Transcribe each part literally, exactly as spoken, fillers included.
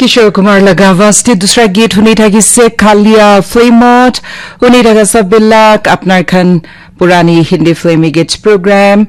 Kishore Kumar laga avaz te dusra geet huni thakise Kalia filmot. Huni thaka sab bilak apnar khan purani Hindi filmi geet program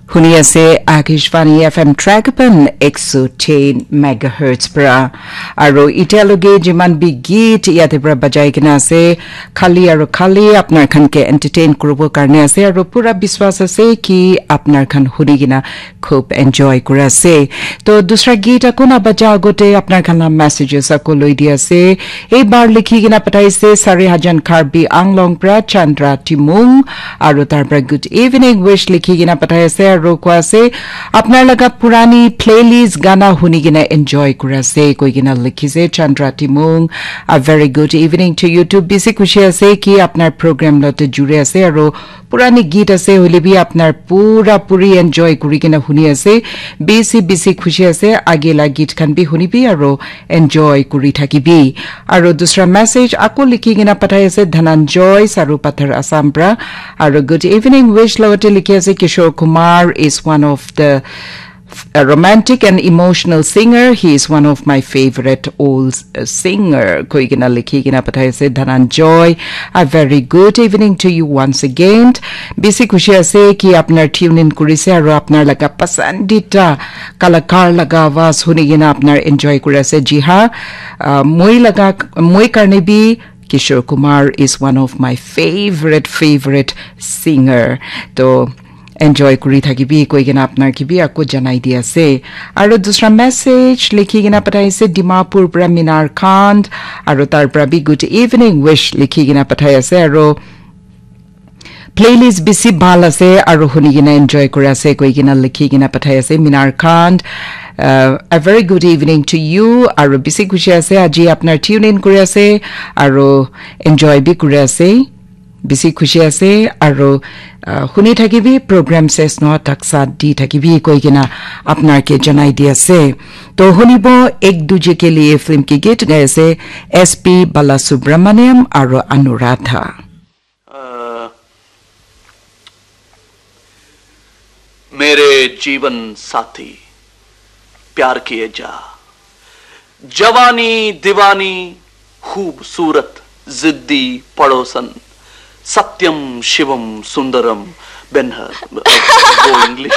huni ase Akashvani F M Tragapan ek so ten megahertz pra. Aro itya loge jiman bi geet yate pra bajai kena ase, khali aro khali apnar khan ke entertain kuribo karne ase, aro pura biswas ase ki apnar khan huni kena khub enjoy kura ase. To dusra geet ako na baja agote apnar khan la messages ako loi di ase. Ei bar likhi kena pathai ase Sari Hajan Karbi Anglong pra Chandra Timung, aro tar pra good evening wish likhi kena pathai ase, aro koi ase apnar laga purani playlist gana huni kena enjoy kura ase koi kena likhi ase Chandra Timung. A very good evening to you too. Bisi khushi ase ki apnar program lote juri ase, aro purani geet ase hoile bi apnar pura puri enjoy kuri kena huni ase. Bisi bisi khushi ase, age la geet khan bi huni bi aro enjoy kuri thaki bi. Aro dusra message ako likhi kena pathai ase Dhananjoy Saru Pathar Assam pra. Aro good evening wish logote likhi ase Kishore Kumar is one of the a romantic and emotional singer. He is one of my favorite old uh, singer. Koi kena likhi kena pathai ase Dhananjoy. A very good evening to you once again. Bisi khushi ase ki apnar tune in kurise aro apnar laga pasandita kalakar laga avaz huni kena apnar enjoy kuri ase. Ji ha, uh, moi laga moi karne bi Kishore Kumar is one of my favorite favorite singer. To enjoy kuri thakibi koi kena apnar ke bi ako janai di ase. Aro dusra message likhi kena pathai ase Dimapur pra Minar Khan, aro tar pra bi good evening wish likhi kena pathai ase, aro playlist bisi bhal ase aro huni kena enjoy kuri ase koi kena likhi kena pathai ase Minar Khan. Uh, a very good evening to you. Aro bisi khushi ase aji apnar tune in kuri ase aro enjoy bi kuri ase. Bisi khushi ase aro uh, huni thakibi program ses no taksa di thakibi koi kena apnar ke janai di ase. To hunibo Ek Duje Ke Liye film ki geet gai ase S P Balasubramaniam aro Anuradha. अ, मेरे जीवन साथी, प्यार किए जा। जवानी दीवानी, खूबसूरत, जिद्दी पड़ोसन, सत्यम शिवम सुंदरम, बेनहर। वो इंग्लिश।